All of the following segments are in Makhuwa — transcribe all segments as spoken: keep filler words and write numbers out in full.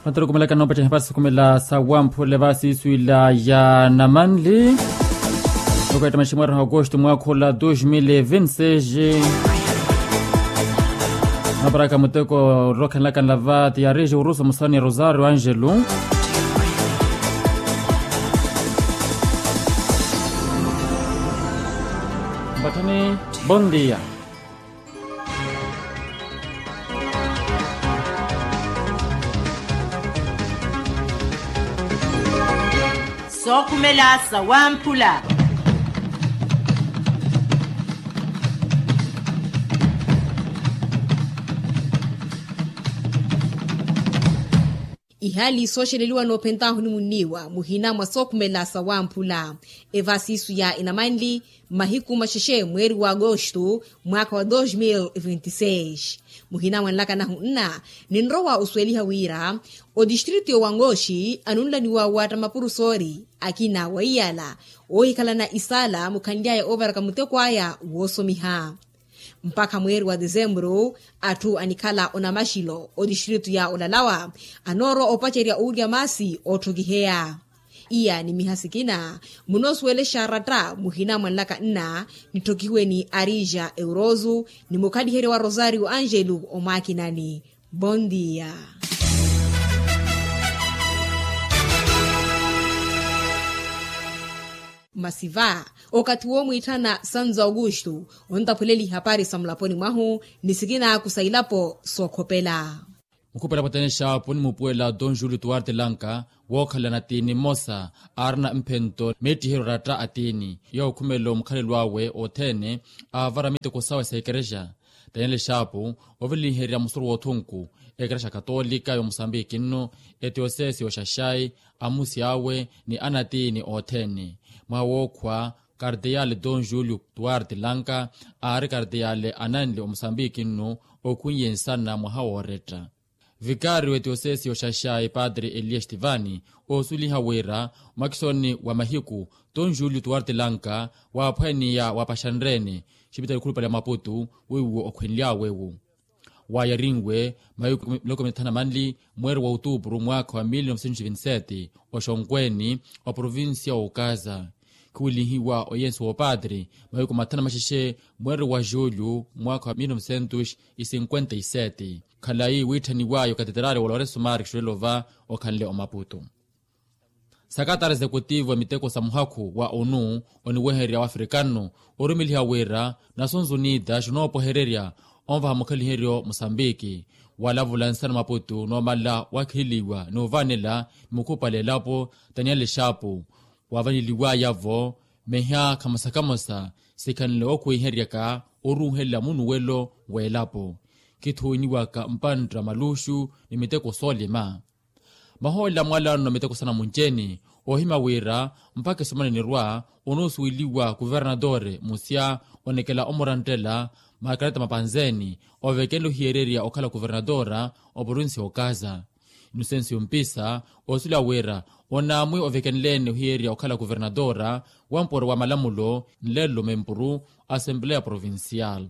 Atorokomelaka noopaceha hapari sokhumela sa wamphule va siiswila ya namanli. Okaita maximwari ha agosto mwakha ola dos mil e vinti seis. Naparaka muteko rokhenlaka nlava tiariji urusa musani rosario angelo. Mbathani. Bon dia. Sookhumela sa wamphula. Ihaali sooxeleliwa noophentahu ni munniiwa muhina mwa sookhumela sa wamphula. Eva siisu ya inamanli mahiku maxexe mweeri wa agosto mwaakha wa dos mil vinti seis. Muhina mwa nlakanahu nna ninrowa osuweliha wira otistritu y'owangoxi anunlaniwa waatta mapurusoori akina wa iyala oohikhalana isaala mukhanly'aya oovaraka muteko aya woosomiha. Mpakha mweeri wa desemburu atthu anikhala onamaxilo otistritu ya olalawa anoorowa opacerya owulya maasi ootthokiheya. Iya ni miha sikina munoosuwelexa aratta muhina mwa nlaka nna nitthokihiwe ni arija eurozu ni mukhaliheryo wa rosario angelo omwakinani. Bon dia. Masi va okathi woomwiitthana sanzo augusto ontaphweleli ihapari sa mulaponi mwahu ni sikina kusa ilapo sookhopela. Mukhupela pwatanexapo ni mupuwela don julio tuwarte lanka wookhalana tiini mmosa aarina mphento meettiheryo ratta a tiini yookhumela omukhalelo awe othene aavara miteko sawe sa ekerexa. Taniele xaapu ovilinherya musuru woothunku ekerexa katolika y'omusambiki nno etiosesi y'oxaxai amusi awe ni anatiini othene mwaha wookhwa kardeyaale don julio tuwarte lanka aari kardeyaale ananli omusambiki nno okhunye nsana mwaha wooretta. Vikariyo etiosesi y'oxaxai padre eliya estivani oosuliha wira mwakisoni wa mahiku ton julio tuwarte lanka waaphwaniya wapaxanrene xipitali khulupale ya maputu wiwo okhwenly'awe wu waayarinwe mahiku miloko mithanu na manli mweeri wa otuupuru mwaakha wa mil novecentos vinti sete oxonkweni wa provincia wa okaza. Khuwelihiwa oyensi woopadre mahiku mathanu na maxexe mweeri wa julio mwaakha wa mil novecentos cinquenta y sete khalayi wiitthaniwaya okateterali wa lorenso mari xulelova okhanle omaputu. Sakatari executivo a miteko sa muhakhu wa onu oniweherya wafrikano orumeliha wira nasunzunita xinoopohererya onvaha mukhaliheryo musambiki walavula nsana maputu noomala wakhililiwa ni ovaanela ni mukhupale elapo taniele xaapu waavaneliwaya-vo meha khamosa khamosa sikhanle ookhuweiheryaka oruuhelela munuwelo w'elapo khithuwiniwaka mpantta maluxu ni miteko soolima. Mahoolelo a mwalano miteko sa namunci-ene oohimya wira mpakha esomana enirwa onoosuweliwa kuvernatore musya onekela omuranttela makareta mapanzeni ovekenle ohiyererya okhala kuvernatore oprovinsi y'okaza. Inosensi yompisa oosula wira onaamwi ovekenle-ene ohiyererya okhala kuvernatore wampuro wa malamulo nlelo mempuru asempleya provincial.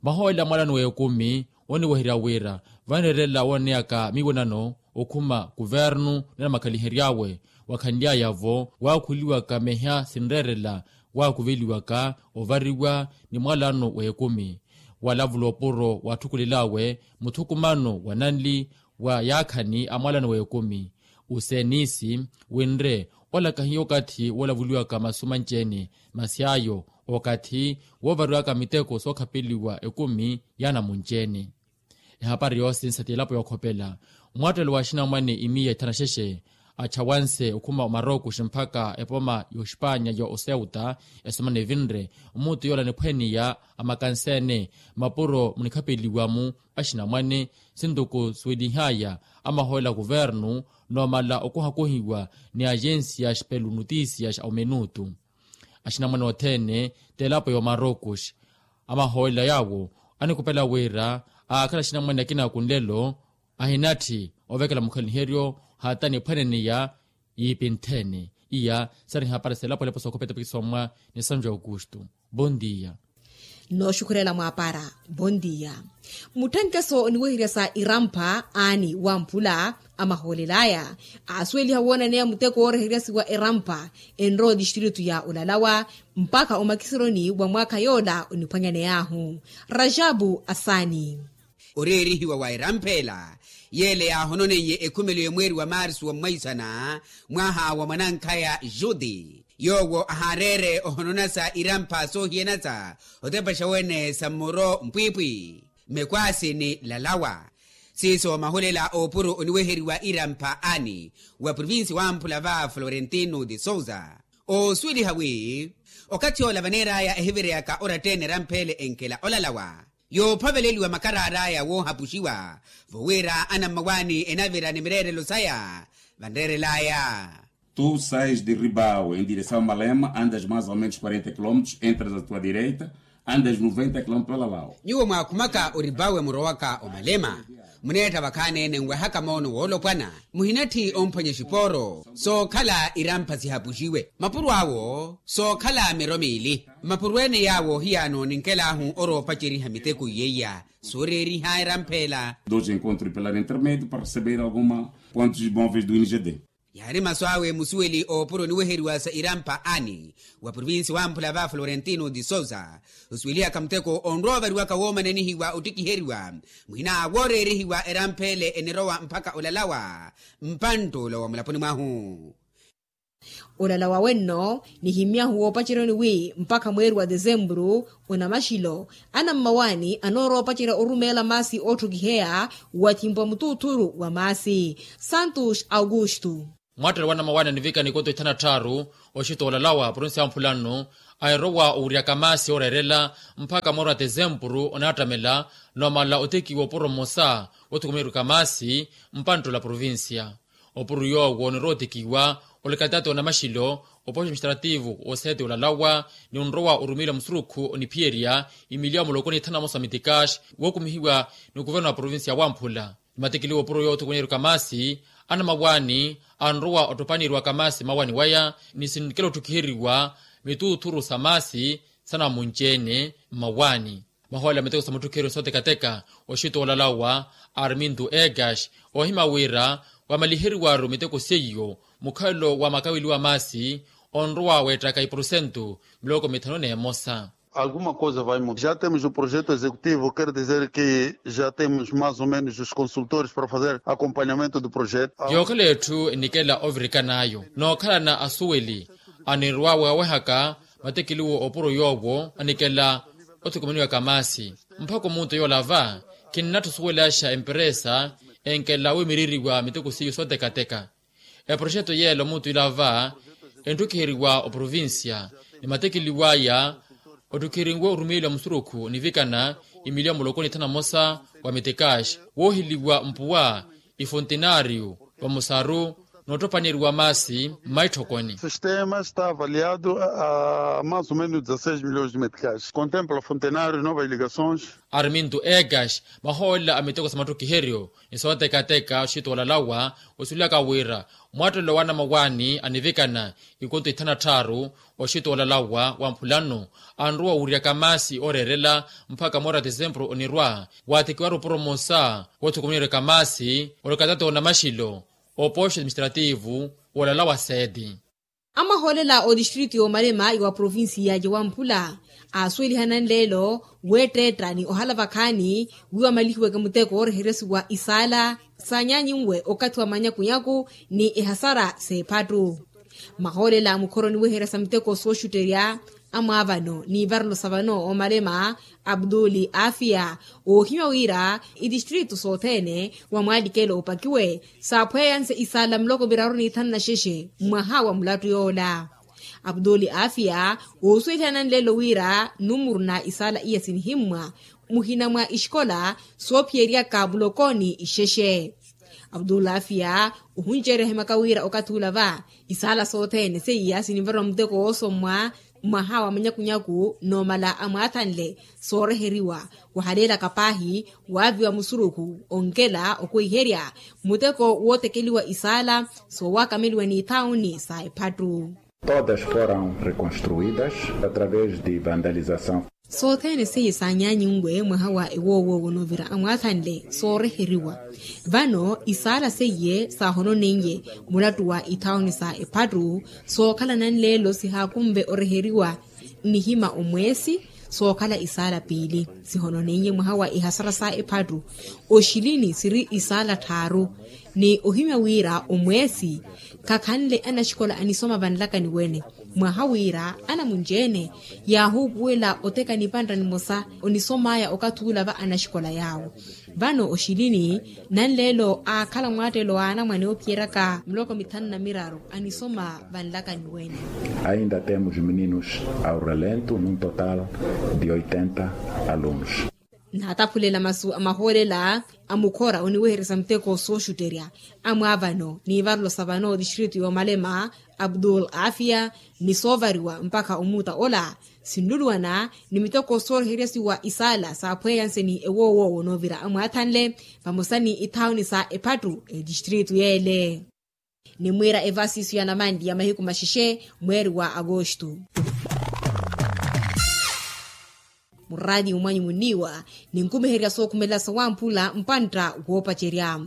Mahoolelo a mwalano w'ekumi oniweherya wira vanreerela wooneyaka miiwonano okhuma kuvernu ni anamakhalihery'awe wakhanly'aya-vo waakhuliwaka meha sinreerela waakuveliwaka ovariwa ni mwalano w'ekumi walavula opuro waatthukulel'awe muthukumano wa nanli wa yaakhani a mwalano w'ekumi usenisi winre ola kahiya okathi woolavuliwaka masu manci-ene masi ayo okathi woovariwaka miteko sookhapeliwa ekumi ya namunci-ene. Ehapari yoosinsa ti elapo yookhopela mwaattelo wa axinamwane imiya ithanu na xexe achawanse okhuma omarokuxi mpakha epoma y'oxipanya ya oseuta esomana evinre mmuutu yoola niphwaniya amakansa-ene mapuro munikhapeliwa-mu axinamwane sintuku suwelihaya amahoolelo a kuvernu noomala okuhakuhiwa ni agensi ya xipelu notisia xa omenutu. Axinamwane othene t'elapo y'omarokuxi amahoolelo yaawo anikupela wira aakhala axinamwane akina akunlelo ahinatthi ovekela mukhaliheryo hata niphwaneneya yiipinthene. Iya sari hapari selapo lepo sookhopeta pikisomwa ni sanju aukustu. Bon dia. Nooxukhurela mwaapara. Vontiya. Mutthenkeso oniweherya sa irampha aani wamphula, amahoolel'aya aasuweliha woonaneya muteko wooreheryasiwa irampha enrowa otistritu ya olalawa mpakha omakisironi wa mwaakha yoola oniphwanyaney'ahu. Rajabu asaani. Oreerihiwa wa eramphela yeele yaahononeiye ekhumelo ya mweeri wa marsu wa mwaisana, mwaha wa mwanankhaya juti yoowo ahaareere ohononasa irampha soohiyanasa otepaxa wene sa mmoro mpwiipwi, mekwaasi ni lalawa. Siiso mahulela oopuro oniweheriwa irampha ani wa provinsi wamphula va florentino de souza, oosuweliha wi okathi yoola vaneer'aya ehivireyaka oratta-ene eramphele enkela olalawa yoophaveleliwa makaraar'aya woohapuxiwa vowira anammawaani enavira ni mireerelo saya. Vanreerel'aya. Tu sais de ribau em direção a malema andas mais ou menos quarenta quilômetros entras a tua direita, andas noventa quilômetros pela lau. Nyuwo mwaakhumaka oribawe murowaka omalema, muneetta vakhaani-ene nwehaka moono woolopwana, muhinatthi omphwanya exipooro sookhala irampha sihapuxiwe mapuro awo sookhala miro miili. Mapuro ene yaawo hiyaano ninkel'ahu oroopaceriha miteko iyeiya. Sooreeriha eramphela. Dos encontros pela intermédio para receber alguma pontos móveis do ingd. Yaari masu awe musuweli oopuro oniweheriwa sa irampha ani wa provinsi wamphula va florentino de souza, osuwelihaka muteko onrowa ovariwaka woomananihiwa ottikiheriwa mwina wooreerihiwa eramphele enirowa mpakha olalawa mpanttula wa mulaponi mwahu. Olalawa wenno nihimyahu woopaceryoni wi mpakha mweeri wa desemburu onamaxilo anammawaani anoorowa opacerya orumeela maasi ootthukiheya wathimpwa mutuuthuru wa maasi. Santos augusto. Mwattelo wa anammawaani anivikana ikonto ithanu na tthaaru oxito olalawa provinsi ya mphula nnu, airowa owiryaka maasi ooreerela mpakha mweeri wa desempuru onaattamela, noomala otekiwa opuro mmosa wothukumeriwaka maasi mpanttula provinsiya. Opuro yoowo onirowa otekiwa olikatati onamaxilo opoxo administrativu oseeti olalawa ni onrowa orumiila musurukhu oniphiyerya imiliya muloko ni ithanu na mosa mitikaxi wookumihiwa ni okuverno wa provinsiya wamphula. Nimatikiliwa opuro yoowo othukumeriwaka maasi anammawaani anrowa ottopaneriwaka maasi mmawaani waya ni sinkela otthukiheriwa mituuthuru sa maasi sanamunci-ene mmawaani. Mahoolela miteko sa mutthukheriyo sootekateka oxito olalawa arminto egas oohimya wira wamaliheriwaru miteko seiyo mukhalelo wa makaweliwa maasi onrowa weettaka iprosentu miloko mithanu n'emosa. Alguma coisa vai mudar já temos o projeto executivo quer dizer que já temos mais ou menos os consultores para fazer acompanhamento do projeto. Yookhala etthu enikela ovirikan'ayo nookhalana asuweli anirwa wawehaka matekeliwo opuro yoowo anikela othukumaniwaka maasi mpakha omuntu yoola va khinnatthu osuwelaxa emperesa enkela wimiririwa miteko seiyo sootekateka. Eproxeto yeela omuntu ila va entthukiheriwa oprovincia ni matekeliw'aya otthukiheriwe orumiiliwa musurukhu onivikana imiliya muloko ni ithanu na mosa wa mitikaxi woohiliwa mpuwa ifontenario vamosaru noottopaneriwa maasi mmaitthokoni. Sistema está avaliado a mais ou menos dezasseis milhões de meticais contempla fontenario novas ligações. Arminto egas mahoolela a miteko sa matthukiheryo ni sootekateka oxito olalawa osuwelaka wira mwattelo wa anamawaani anivikana ikonto ithanu na tthaaru oxito olalawa wa mphula nnu anrowa owiryaka maasi ooreerela mpakha mweeri wa desempuru onirwa waatekiwaru opuro mmosa woothukumaniwaka maasi olikatati onamaxilo opoxo administrativu wolalawa seeti. Amahoolela otistritu y'omalema wa provincia ya wamphula aasuweliha nanleelo weetteetta ni ohala vakhaani wi wamalihiweke muteko wooreheryasiwa isaala saanyanyinwe okathi wa manyakunyaku ni ehasara s'ephattu. Mahoolela mukhoroni weherya sa miteko sooxutterya amwaavano n'ivarelo sa vano omalema abduli afia oohimya wira itistritu sothene wa mwaalikelo opakiwe saaphweyanse isaala muloko viraru n'ithanu na xexe mwaha wa mulattu yoola. Abduli afia oosuweliha nanleelo wira numuru na isaala iya sinihimmwa muhina mwa ixikola soophiyeryaka mulokooni ixexe. Abdul afia ohunceerya ohimaka wira okathi ula va isaala sothene seiya sinivarwa muteko woosommwa mwaha wa manyakunyaku noomala amwaathanle sooreheriwa wahaleelaka paahi waaviwa musurukhu onkela okwehiherya muteko wootekeliwa isaala soowakameliwa n'ithauni sa ephattu. Todas foram reconstruídas através de vandalização. Sothene seiye saanyaanyinwe mwaha wa ewoowo wonovira amwaathanle sooreheriwa. Vano isaala seiye saahononeiye mulattu wa ithauni sa ephattu sookhala nanleelo sihaakunve oreheriwa. Nnihima omweesi sookhala isaala piili sihononeiye mwaha wa ihasara sa ephattu. Oxilini siri isaala tthaaru ni ohimya wira omweesi khakhanle anaxikola anisoma vanlakani wene. Mwaha wira anamunci-ene yaahuupuwela oteka nipantta nimosa onisom'aya okathi ula va anaxikola yaawo. Vano oxilini nanleelo aakhala mwaattelo wa anamwane oophiyeryaka miloko mithanu na miraru anisoma vanlakani wene. Ainda temos meninos ao relento num total de oitenta alunos. Naataphulela masu a mahoolela a mukhora oniwehererya sa muteko sooxutterya amwaavano n'ivarelo sa vano distritu y'omalema abdul afia ni soovariwa mpakha omuuta ola sinluluwana ni miteko sooreheryasiwa isaala saaphweyanseni ewoowo wonoovira amwaathanle vamosa ni ithauni sa ephattu etistritu yeele. Nimwiira evasiso ya namanli ya mahiku maxexe mweeri wa agosto. Muraati mwanyu munniiwa ninkumiherya sookhumelela sawamphula mpantta woopacerya.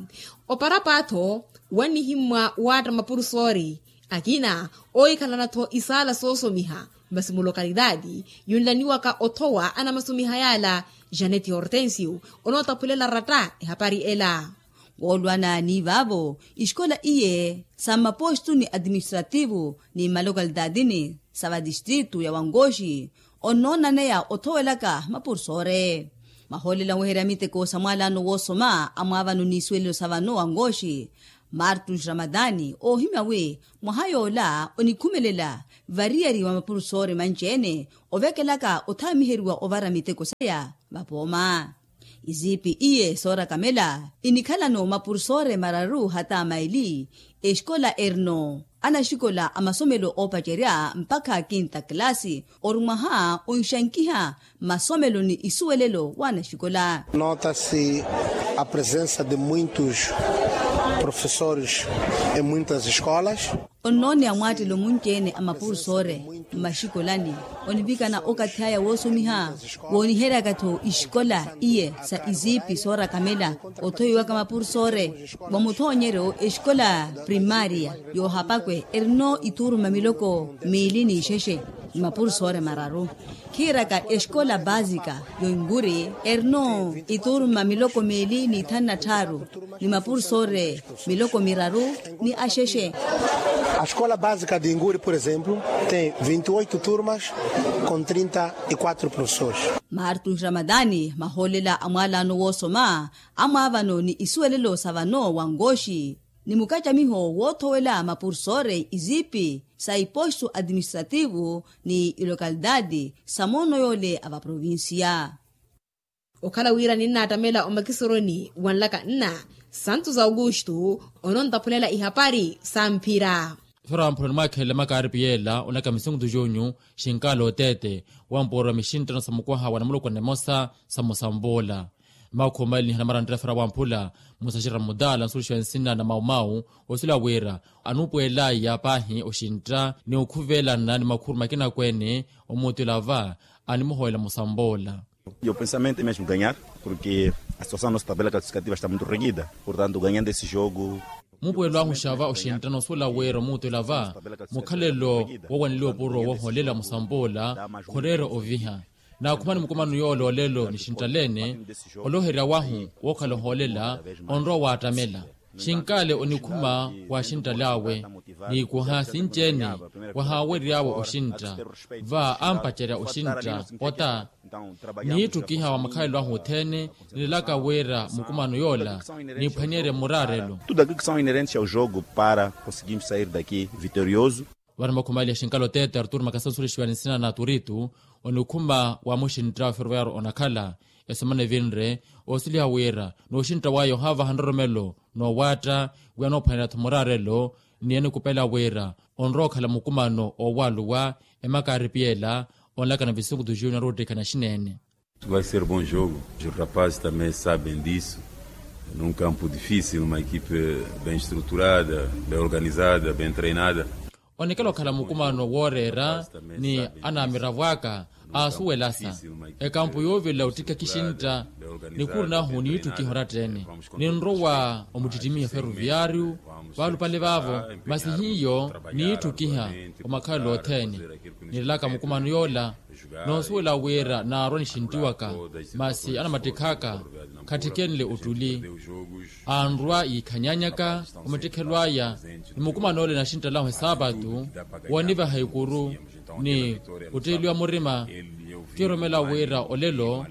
Oparapatho wannihimmwa waatta mapurusoori akina oohikhalana-tho isaala soosomiha masi mulokalidaati yunlaniwaka othowa anamasomiha yaala. Janeti hortensio onootaphulela ratta ehapari ela. Woolwana ni vaavo ixikola iye sa mapostu ni administrativu ni malokalitaatini sa vatistritu ya wankoxi onnoonaneya othowelaka mapurusoore. Mahoolela onweherya miteko sa mwaalano woosoma amwaavano n'isuwelelo sa vano wankoxi martus ramatani oohimya wi mwaha yoola onikhumelela variyari wa mapurusoore manci-ene ovekelaka othaamiheriwa ovara miteko saya vapooma. Iziipi iye soorakamela inikhalano mapurusoore mararu hata maili exikola erno anaxikola a masomelo oopacerya mpakha kinta kilasi ori mwaha onxankiha masomelo ni isuwelelo w'anaxikola. Nota-se a presensa de muitos profesores em muitas escolas. Onnooneya mwaattelo munci-ene a mapurusoore mmaxikolani onivikana okathi aya woosomiha wooniheryaka-tho ixikola iye sa iziipi soorakamela othowiwaka mapurusoore. Wa muthoonyeryo exikola primaria yoohapakwe erino ithuruma miloko miili n'ixexe ni mapurusoore mararu. Khiiraka exikola baasika y'oinkuri erino ithuruma miloko miili n'ithanu na tthaaru ni mapurusoore miloko miraru ni axexe. A escola básica de inkuri por exemplo tem vinte e oito turmas com trinta e quatro professores. Martus ramadani mahoolela a mwaalano woosoma amwaavano ni isuwelelo sa vano wankoxi ni mukacamiho woothowela mapurusoore iziipi sa ipostu administrativu ni ilokalitaati sa moono yoole a vaprovinsiya. Okhala wira ninnaattamela omakisoroni wa nlaka nna santos augusto onontaphulela ihapari sa mphira. Fera wamphula onimwaakhelela makaaripi yeela onaka misinkutu junyu xinkaala oteete wampoorwa mixinttano sa mukwaha wa namuloko nnemosa sa musampuula. Makhuma eli nihana maranttira fera wamphula musaxira mutaala nsulixiwa nsina na maumau osila wira anuupweelaya paahi oxintta ni okhuvelana ni makhuru makina kweene omuutila va animuhoolela musampuula. E o pensamento é mesmo ganhar porque a situação nossa tabela classificativa está muito reguida portanto ganhando esse jogo. Mupuwelo ahu xava oxinttano osuula wira omuutela va mukhalelo woowaneliwa opuro woohoolela musampuula khoreera oviha. Naakhumani mukumano yoola olelo nixinttaleene olooherya wahu wookhala ohoolela onrowa waattamela. Xinkaale onikhuma wa axinttale awe niikuha sinci-ene wahaawery'awe oxintta va ampacerya oxintta ota niittukiha wa makhalelo ahu othene nilelaka wira mukumano yoola niphwaneyerye muraarelo. Tudo aquilo que são inerentes ao jogo para conseguirmos sair daqui vitorioso. Vano makhumali ya xinkalo tete arturo makasa nsulexiwa ni nsina na turitu onikhuma wa muxintta wa ferroviario onakhala esemana evinre osuliha wira n'uxintta waya ohavaha nroromelo n'owaatta wi anoophwanela-tho muraarelo ni enikupela wira onrowa okhala mukumano owaluwa emakaaripiyela onlakana visinkutu junior oottikhana xineene. Vai ser bom jogo, os rapazes também sabem disso, num campo difícil uma equipe bem estruturada, bem organizada, bem treinada. Onikela okhala mukumano wooreera ni anaamiravo aka aasuwelasa ekampu yoovelela ottikha kixintta. Nikhuru nahu niitthukiha oratta-ene ninrowa omuttittimiha ferroviario. Vaalupale vaavo masi hiyo niitthukiha omakhalelo othene. Nirelaka mukumano yoola noosuwela wira naarwa nixinttiwaka masi anamattikhaka khattikenle ottuli. Anrwa yiikhanyanyaka omattikhelo aya ni mukumano ole naxinttalahu esaapatu woonivaha ikuru ni otteeliwa murima. Kiiromela wira olelo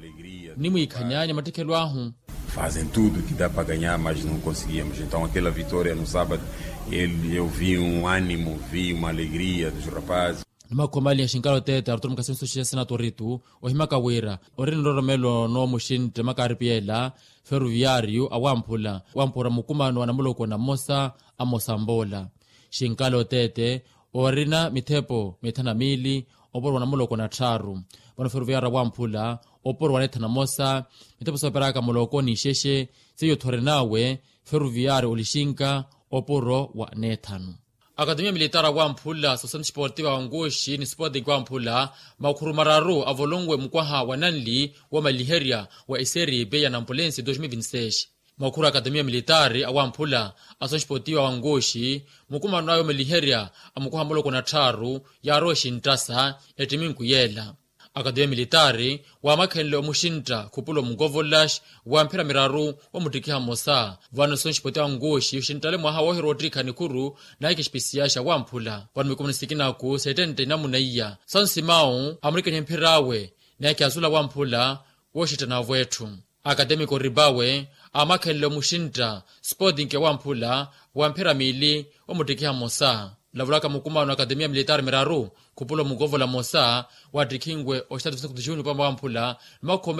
nimwiikhanyanya mattikhelo ahu. Fazem tudo que dá para ganhar mas não conseguimos então aquela vitória no sábado ele eu vi um animo vi uma alegria dos rapazes. Nimakhomaliha xinkala oteete aruturo mukhasenso xia senatoritu ohimaka wira ori niroromelo noomuxintte makaaripiyela ferroviario awamphula wamphura mukumano wa namuloko na mmosa a mosamboola. Xinkala oteete orina mithepo mithanu na miili oporwa namuloko na tthaaru. Vano ferroviario awamphula oporwa neethanu na mmosa mithepo sooperaka muloko n'ixexe seiyo thori nawe ferroviario olixinka opuro wa neethanu. Akatemiya militaari awamphula sosenti sportiva wa nkuxi ni sporting wamphula makhuru mararu avolonwe mukwaha wa nanli womaliherya wa eseri beya na ampulensi dos mil vinti seis. Makhuru akatemiya militaari awamphula asosenti sportiva wa nkuxi mukumano awe omaliherya a mukwaha muloko na tthaaru yaarowa exinttasa ettiminku yeela. Akatemiya militaari waamakhenle omuxintta khupula omukovolax wamphira miraru womuttikiha mmosa. Vano sonsipoti ankuxi oxinttale mwaha woohirwa ottikha nikhuru naikixpisiyaxa wamphula vano mikumuni sikinaku settentte inamuna iya sansimawu amurikanihe mphir'awe naikiyasula wamphula wooxittanavo etthu. Akatemiko ribawe aamakhenle omuxintta sporting wamphula wamphira miili womuttikiha mmosa. Lavulaka mukumano akatemiya militaari miraru khupula omukovola mmosa wattikhinwe oxitatu fisiku tijuni opama wamphula. Nimakhome